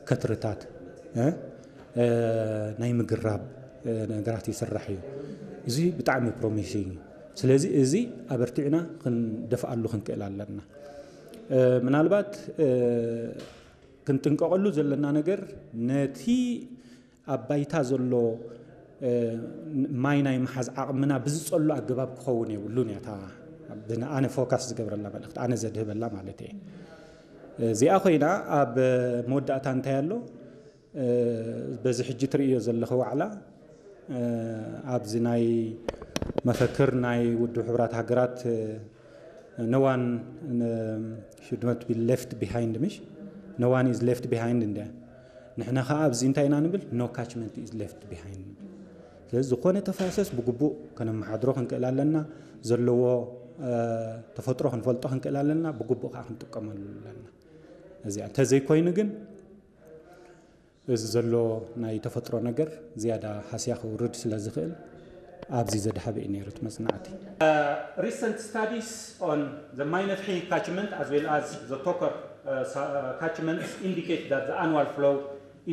ከትርታት እ፣ እ፣ ናይ ምግራብ እ፣ ነገራት ይስራሕ እዩ። እዚ ብጣዕሚ ፕሮሚሲንግ እዩ። ስለዚ እዚ ኣበርቲዕና ክንደፍኣሉ ክንክእል ኣለና። እ፣ ምናልባት እ፣ ክንጥንቀቐሉ ዘለና ነገር ነቲ ኣብ ባይታ ዘሎ እ፣ ማይ ናይ ምሓዝ ዓቕምና ብዝጸሉ ኣገባብ ክኸውን የብሉን እያ። እታ ብን-፣ ኣነ ፎካስ ዝገብረላ መልእኽቲ፣ ኣነ ዘድህበላ ማለት እየ። እዚኣ ኮይና ኣብ መወዳእታ እንታይ ኣሎ? እ፣ በዚ ሕጂ ትርእዮ ዘለኺ ዋዕላ እ፣ ኣብዚ ናይ መፈክር ናይ ውድብ ሕቡራት ሃገራት እ፣ no one ን-፣ should not be left behind፣ ምሽ? No one is left behind እንደ ንሕና ከዓ ኣብዚ እንታይ ኢና ንብል? No catchment is left behind ንብል። ስለዚ ዝኾነ ተፋሰስ ብግቡእ ከነመሓድሮ ክንክእል ኣለና። ዘለዎ እ፣ ተፈጥሮ ክንፈልጦ ክንክእል ኣለና። ብግቡእ ከዓ ክንጥቀመሉ ኣለና። እዚኣ እንተዘይኮይኑ ግን እዚ ዘሎ ናይ ተፈጥሮ ነገር ዝያዳ ሃስያ ክውርድ ስለ ዝኽእል ኣብዚ ዘድሃበ እዩ ነይሩ እቲ መጽናዕቲ። Recent studies on the Mainafhi catchment as well as the Tokar uh, sa- uh, catchments indicate that the annual flow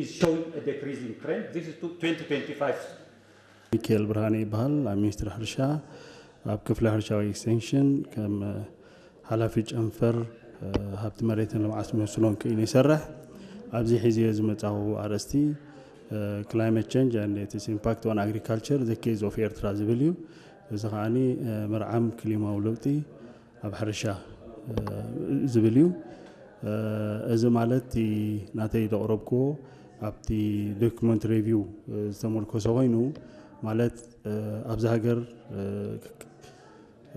is showing a decreasing trend. This is to twenty twenty-five. ሚካኤል ብርሃነ ይበሃል። ኣብ ሚኒስትሪ ሕርሻ ኣብ ክፍሊ ሕርሻዊ ኤክስቴንሽን ከም ሓላፊ ጨንፈር ሃብቲ መሬትን ልምዓት መስኖን ክኢሉ ይሰርሕ። ኣብዚ ሒዝዮ ዝመጻኹ ኣርእስቲ Climate Change and Its Impact on Agriculture, The Case of Ertra ዝብል እዩ። እዚ ከዓኒ መርዓም ክሊማዊ ለውጢ ኣብ ሕርሻ ዝብል እዩ። እዚ ማለት እቲ ናተይ ዘቕረብክዎ ኣብቲ ዶክመንት ሬቪው ዝተመርኮሰ ኮይኑ፣ ማለት ኣብዚ ሃገር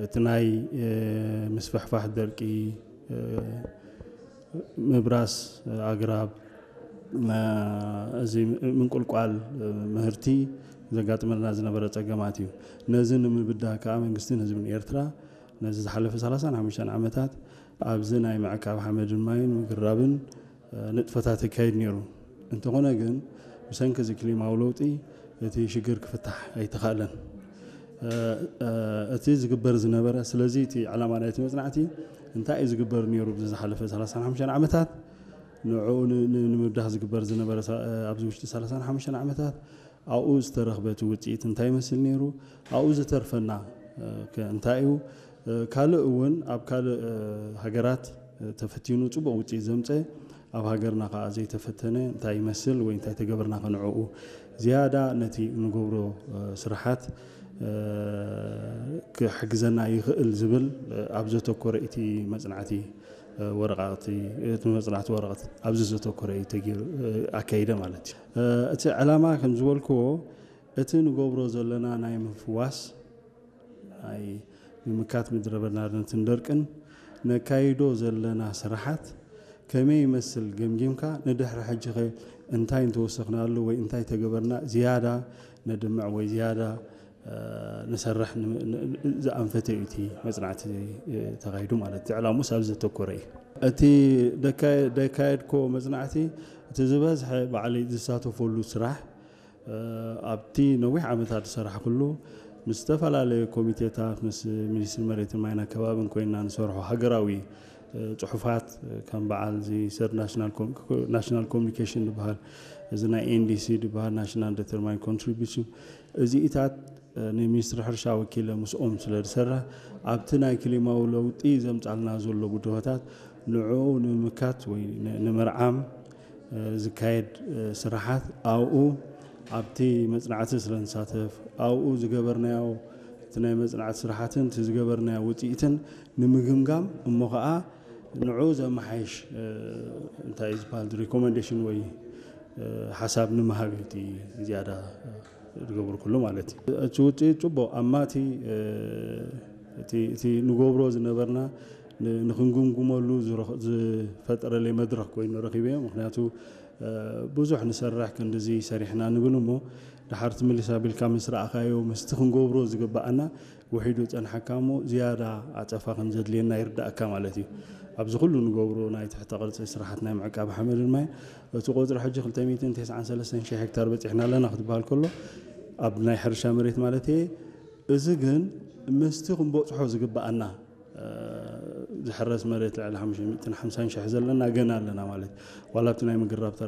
እቲ ናይ ምስፍሕፋሕ ደርቂ፣ ምብራስ ኣግራብ፣ እዚ ምንቁልቋል ምህርቲ ዘጋጥመና ዝነበረ ጸገማት እዩ። ነዚ ንምብዳህ ከኣ መንግስትን ህዝብን ኤርትራ ነዚ ዝሓለፈ ሰላሳን ሓሙሽተን ዓመታት ኣብዚ ናይ ምዕቃብ ሓመድን ማይን ምግራብን ንጥፈታት ይካየድ ነይሩ። እንተኾነ ግን ብሰንኪ እዚ ክሊማዊ ለውጢ እቲ ሽግር ክፍታሕ ኣይተኻእለን። እቲ ዝግበር ዝነበረ፣ ስለዚ እቲ ዕላማ ናይቲ መጽናዕቲ እንታይ እዩ ዝግበር ነይሩ ኣብዚ ዝሓለፈ ሰላሳን ሓሙሽተን ዓመታት፣ ንዕኡ ን- ን- ንምብዳህ ዝግበር ዝነበረ ሳ- ኣብዚ ውሽጢ ሰላሳን ሓሙሽተን ዓመታት ኣብኡ ዝተረኽበ እቲ ውጽኢት እንታይ ይመስል ነይሩ፣ ኣብኡ ዝተርፈና ከ እንታይ እዩ፣ ካልእ እውን ኣብ ካልእ ሃገራት ተፈቲኑ ጽቡቕ ውጽኢት ዘምጸ፣ ኣብ ሃገርና ከኣ ዘይተፈተነ እንታይ ይመስል ወይ እንታይ ተገበርና ከንዕኡ ዝያዳ ነቲ ንገብሮ ስራሓት ክሕግዘና ይኽእል ዝብል ኣብ ዘተኮረ እቲ መጽናዕቲ ወረቓቕቲ፣ እቲ መጽናዕቲ ወረቐት ኣብዚ ዘተኮረ እዩ ተገይሩ፣ ኣካይደ ማለት እዩ። እቲ ዕላማ ከም ዝበልክዎ እቲ ንገብሮ ዘለና ናይ ምፍዋስ ናይ ምምካት ምድረ በዳነትን ደርቅን ነካይዶ ዘለና ስራሓት ከመይ ይመስል ገምጊምካ ንድሕሪ ሕጂ ኸ እንታይ እንተወሰኽናሉ ወይ እንታይ ተገበርና ዝያዳ ነድምዕ ወይ ዝያዳ ንሰርሕ ዝኣንፈተ እዩ እቲ መፅናዕቲ ተኻይዱ ማለት እቲ ዕላሙስ ኣብዚ ዘተኮረ እዩ። እቲ ደካየድኮ መፅናዕቲ እቲ ዝበዝሐ ባዕለይ ዝሳተፈሉ ስራሕ ኣብቲ ነዊሕ ዓመታት ዝሰራሕኩሉ ምስ ዝተፈላለዩ ኮሚቴታት ምስ ሚኒስትሪ መሬትን ማይን ኣከባብን ኮይንና ንሰርሖ ሃገራዊ ፅሑፋት ከም በዓል እዚ ሰርድ ናሽናል ኮሚኒኬሽን ዝበሃል እዚ ናይ ኤንዲሲ ዝበሃል ናሽናል ዴተርማይን ኮንትሪቢሽን እዚኢታት ንሚኒስትሪ ሕርሻ ወኪለ ምስኦም ስለ ዝሰርሕ ኣብቲ ናይ ክሊማዊ ለውጢ ዘምፃልና ዘሎ ብድሆታት ንዕኡ ንምምካት ወይ ንምርዓም ዝካየድ ስራሓት ኣብኡ ኣብቲ መፅናዕቲ ስለ ንሳተፍ ኣብኡ ዝገበርናዮ እቲ ናይ መፅናዕቲ ስራሓትን እቲ ዝገበርናዮ ውፅኢትን ንምግምጋም እሞ ከዓ ንዑ ዘመሓይሽ እንታይ እዩ ዝበሃል ሪኮመንዴሽን ወይ ሓሳብ ንምሃብ እዩ እቲ ዝያዳ ዝገብሩ ኩሉ ማለት እዩ። እቲ ውፅኢት ፅቡቕ ኣማቲ እቲ ንገብሮ ዝነበርና ንክንግምግመሉ ዝፈጠረለይ መድረክ ኮይኑ ረኪበዮ። ምክንያቱ ብዙሕ ንሰርሕ ክንድዚ ሰሪሕና ንብል እሞ ድሓር ትምልስ ኣቢልካ ምስ ረኣኻዮ ምስቲ ክንገብሮ ዝግበኣና ውሒዱ ፀንሓካ እሞ ዝያዳ ኣፀፋ ከም ዘድልየና ይርዳእካ ማለት እዩ። ኣብዚ ኩሉ ንገብሮ ናይ ትሕተ ቅርፂ ስራሓት ናይ ምዕቃብ ሓመድን ማይን እቲ ቁፅሪ ሕጂ ክልተ ሚእትን ተስዓን ሰለስተን ሺሕ ሄክታር በፂሕና ኣለና ክትበሃል ከሎ ኣብ ናይ ሕርሻ መሬት ማለት እየ። እዚ ግን ምስቲ ክንበፅሖ ዝግበኣና ዝሕረስ መሬት ልዕሊ ሓሙሽተ ሚእትን ሓምሳን ሺሕ ዘለና ገና ኣለና ማለት ዋላ ኣብቲ ናይ ምግራብ ተራ